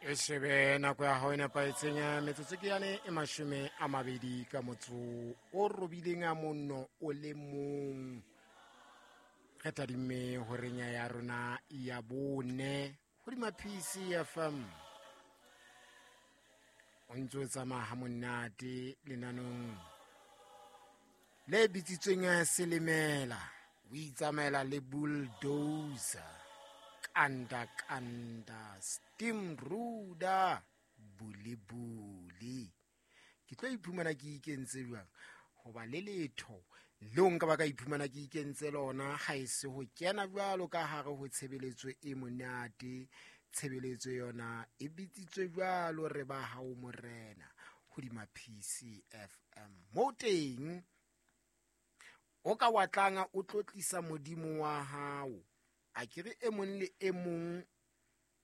E shebe nako ya hao e nepahetseng ya metsotso ke yane e 20 ka motso o robileng a monno o le mong. Re tadimme horeng ya rona ya bone hodima PCFM. O ntse o tsamaya ha monate lenanong le bitsitsweng Selemela, o itsamaela le bulldozer, kanda kanda, steam ruda, bule bule. Ke tlo iphumana ke ikentse jwang? Hoba le letho leo nka ba ka iphumana ke ikentse lona ha e se ho kena jwalo ka hare ho tshebeletso e monate. Tshebeletso yona e bitsitswe jwalo re ba hao morena hodima PCFM. Mo teng o ka wa tlanga o tlotlisa modimo wa hao. A ke re e mong le e mong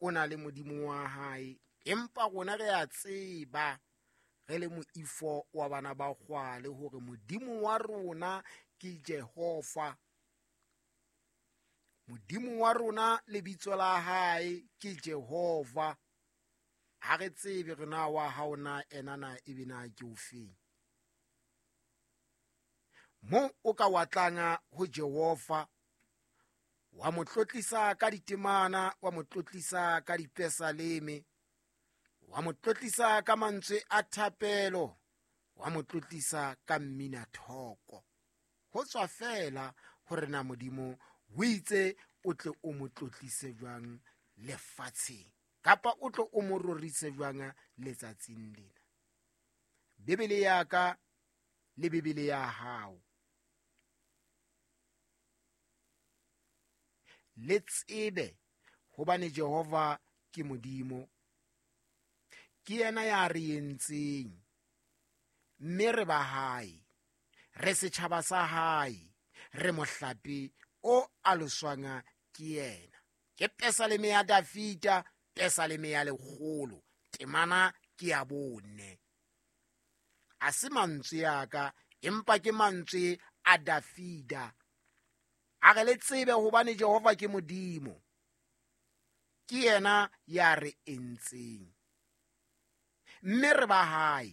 o na le modimo wa hae, empa rona re a tseba re le moifo wa bana ba kgwale hore modimo wa rona ke Jehova. Modimo wa rona lebitso la hae ke Jehova. Ha re tsebe re na wa hao na ena na ebe na ke ofeng. Mo o ka wa tlanga ho Jehova, wa mo tlotlisa ka ditemana, wa mo tlotlisa ka dipesaleme, wa mo tlotlisa ka mantswe a thapelo, wa mo tlotlisa ka mmina thoko. Ho tswa fela hore na modimo o itse o tle o mo tlotlise jwang lefatsheng, kapa o tle o mo rorise jwang letsatsing lena. Bibele ya ka le Bibele ya hao le tsebe hobane Jehova ke Modimo, ke yena ya re entseng, mme re ba hae, re setjhaba sa hae, re mohlape o aloswang ke yena. Ke Pesaleme ya Dafita, Pesaleme ya 100, temana ke ya 4. A se mantswe a ka, empa ke mantswe a Dafida. A re le tsebe hobane Jehova ke Modimo, ke yena ya re entseng, mme re ba hae,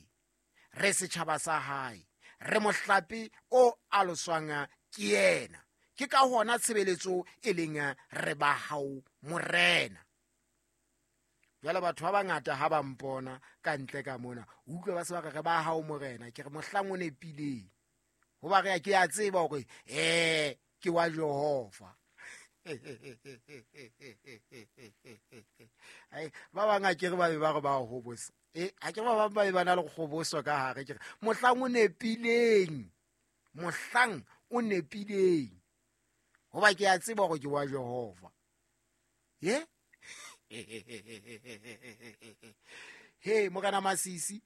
re setjhaba sa hae, re mohlape o aloswang ke yena. Ke ka hona tshebeletso e leng re ba hao morena. Jwale batho ba bangata ha ba mpona ka ntle ka mona, o utlwe ba se ba re re ba hao morena. Ke re mohlang o nepileng, hoba re ke a tseba hore ke wa Jehova. Ai, ba bang a ke re ba be ba re ba hobosa. A ke ba bang ba be ba na le kgoboso ka hare. Ke re mohlang o nepileng, mohlang o nepileng, hoba ke a tseba hore ke wa Jehova. Ye? Hey, Morena Masisi,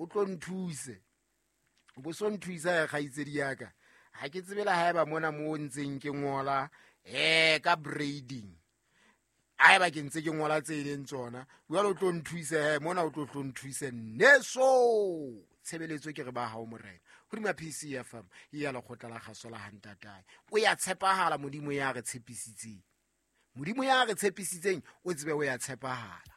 o tlo nthuse. O bo so nthusa ya kgaitsedi ya ka. Ha ke tsebe le haeba mona mo ntseng ke ngola ka braiding. Haeba ke ntse ke ngola tse leng tsona, jwale o tlo nthuse he, mona o tlo tlo nthuse neso. Tshebeletso ke re ba hao morena. Hodima PCFM ya lekgotla la kgaso la hantatae. O ya tshepahala Modimo ya re tshepisitseng. Modimo ya re tshepisitseng o tsebe o ya tshepahala.